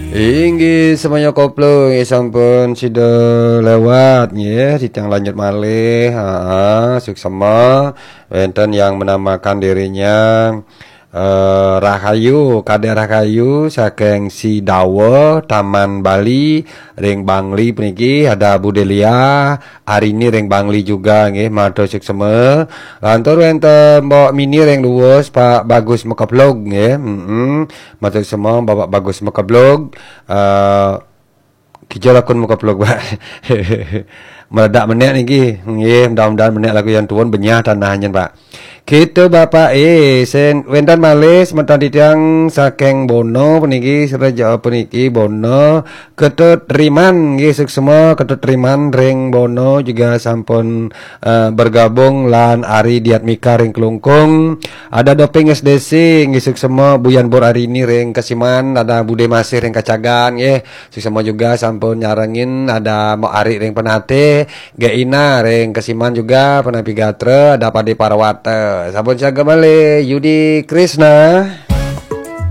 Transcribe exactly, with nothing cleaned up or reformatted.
Inggih, semuanya koplo, inggih sampun sida lewat, nggih. Titiang lanjut malih. Ha, suksema. Wenten yang menamakan dirinya, eh, Rahayu, Kadek Rahayu saking Sidawa, Taman Bali, ring Bangli puniki, ada Bu Delia, Arini ring Bangli juga, nggih, matur suksema. Lantur wenten Mbok Mini ring Luwus, Pak Bagus Mekeblog, nggih. Mm-mm. Matur suksema, Bapak Bagus Mekeblog. Eh, Kija lakun Mekeblog, Pak. Meledak menek niki. Nggih, mudah-mudahan menek laku yang tuun benyah tanah nyen, Pak. Kita Bapak, eh, sen, wenten malih semeton titiang saking Bono puniki, sereja puniki Bono, Ketut Riman, nggih, suksema Ketut Riman ring Bono juga sampun, eh, bergabung lan Ari Diatmika ring Klungkung. Ada Doping S D C, nggih, suksema Buyan Bor Arini ring Kesiman, ada Bude Masih ring Kacagan, nggih. Suksema juga sampun nyarengin, ada Mbok Ari ring Penatih, Gek Ina ring Kesiman juga, Penampi Gatra, ada Pade Parwata. Sampun siaga malih, Yudi Krisna.